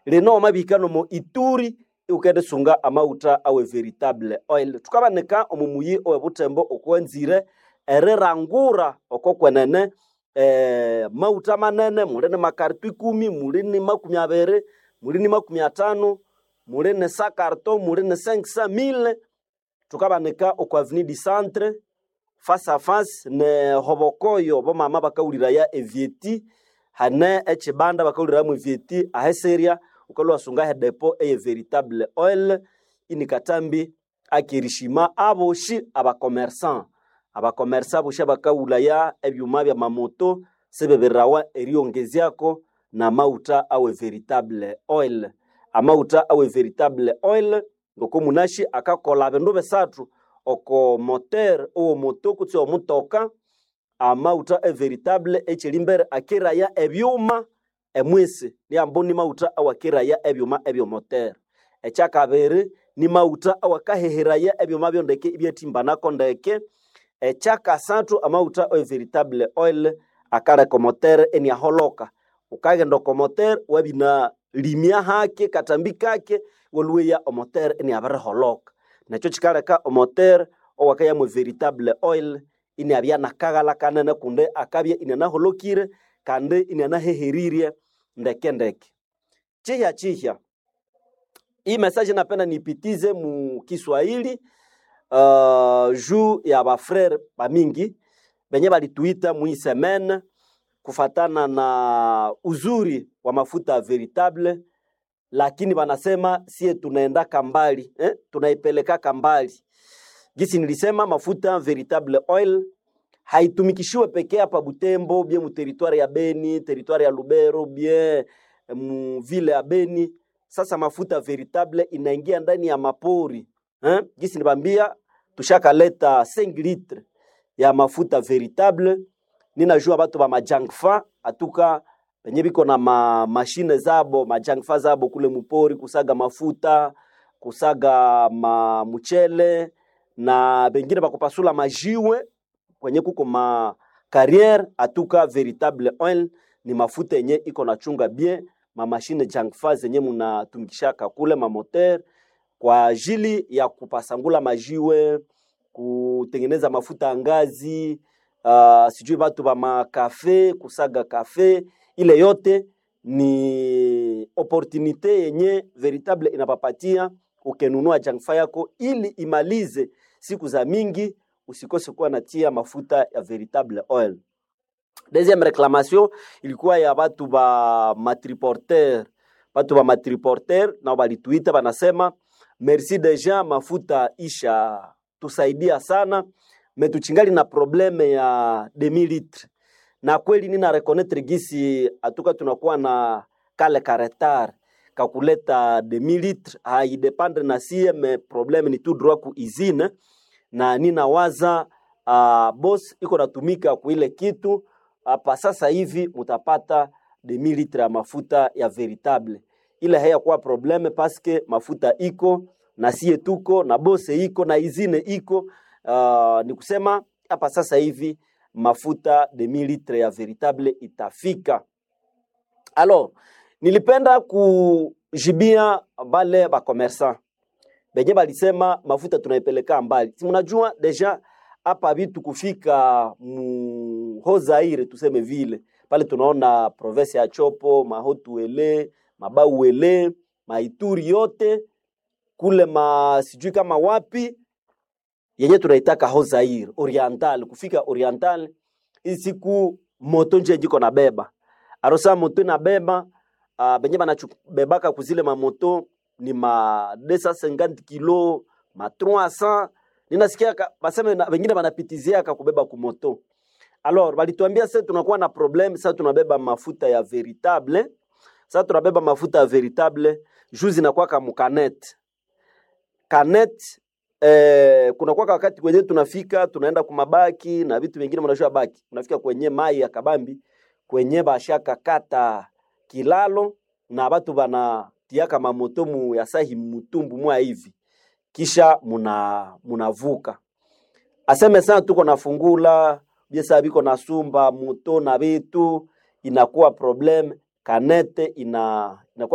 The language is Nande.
Lino wamabihika nomo Ituri iwukendisunga amaghutha awe veritable oil. Thukabanika omo muyi owe Butembo okwanzire erirangura oko kwenene maghutha manene, muli ni makarito ikumi, muli ni makumi abiri, muli ni makumi athanu, muli ni sa carton, muli ni cinq cent mille. Thukabanika oko avenue du centre face à face ne hobokoyo bomama bakawuliraya evyeti, hane ekyibanda bakawuliramu evyeti ahesirya wukalhwa iwasunga he depo eye veritable oil inikatambi akerishima aboshi abakomersa. Abakomersa aboshi abakawulaya ebyuma byamamoto sibibirirawa eriyongezyako namaghutha awe veritable oil. Amaghutha awe veritable oil ngoko munashi akakolha bindu bisathu oko moteur owomoto kutse omutoka. Amaghutha e veritable ekyerimbere akeraya ebyuma emwisi niambu ni maghutha awakeraya ebyuma ebyomoteur. Ekyakabiri ni maghutha awakaheheraya ebyuma byondeke ibyathimbanako ndeke. Ekyakasathu amaghutha e veritable oil akaleka omoteur iniaholoka. Wukaghenda oko moteur wabinalimya hake katambi kake iwalhweya omoteur iniabiriholoka. Nekyo kyikaleka omoteur owakaya mwe veritable oil iniabya nakaghalha kanene kundi akabya inianaholokire kandi inianaheherirye ndeke ndeke. Kyihya kyihya, hii message napenda niipitize mu Kiswahili juu ya bafrere bamingi benye balituita mwi semaine kufatana na uzuri wa mafuta veritable, lakini banasema sie tunaendaka mbali tunaipelekaka mbali. Gisi nilisema mafuta veritable oil haitumikishiwe pekee hapa Butembo, bien mu territoire ya Beni, territoire ya Lubero, bien mu ville ya Beni. Sasa mafuta veritable inaingia ndani ya mapori Gisi nibambia tushakaleta 5 litre ya mafuta veritable. Ninajua batu ba majangfa atuka benye biko na ma mashine zabo majangfa zabo kule mupori kusaga mafuta kusaga ma muchele na bengine bakupasula majiwe kwenye kuko ma carrière. Atuka veritable oil ni mafuta yenye iko na chunga bien ma mashine jangfa zenye munatumikishaka kule ma moteur kwa ajili ya kupasangula majiwe kutengeneza mafuta ya ngazi, sijui batu ba makafe kusaga kafe. Ile yote ni opportunite yenye veritable inapapatia ukenunua jangfa yako ili imalize siku za mingi, usikose kuwa natia mafuta ya veritable oil. Deuxième réclamation ilikuwa ya batu ba matriporteur, batu ba matriporteur nao balituita banasema merci deja mafuta isha tusaidia sana metuchingali na probleme ya demi litre, na kweli nina reconnaître gisi atuka tunakuwa na kale ka retard kakuleta demi litre haidependre na sie me probleme ni tout droit ku usine, na ninawaza boss iko natumika kuile kitu hapa sasa hivi mutapata demi litre ya mafuta ya veritable. Ile hayakuwa probleme paske mafuta iko na sie tuko na bose iko na izine iko. Ni kusema hapa sasa hivi mafuta demi litre ya veritable itafika. Alors, nilipenda kujibia bale ba commerçant benye balisema mafuta tunaipeleka mbali. Si mnajua deja hapa vitu kufika mu Haut-Zaire tuseme vile pale tunaona province ya Chopo, Mahotuele, Mabauele, Maituri yote kule ma sijui kama wapi yenye tunaitaka Haut-Zaire Oriental, kufika Oriental isiku moto nje jiko na beba arosa moto inabeba benye banachubebaka kuzile mamoto ni ma 250 kilo ma 300 ninasikia baseme wengine banapitiziaka kubeba kumoto. Alors balituambia sasa tunakuwa na problème sasa, tunabeba mafuta ya veritable, sasa tunabeba mafuta ya veritable juzi inakuwa kama kanet kanet kuna kwa wakati kwenye tunafika tunaenda kumabaki na vitu vingine, mnajua baki unafika kwenye mai ya kabambi kwenye bashaka kata kilalo na batu bana tiaka mamoto mu ya sahi mutumbu mwa hivi kisha munavuka aseme sana tuko nafungula biesa biko na sumba moto na vitu inakuwa problem. Kanete ina inakuwa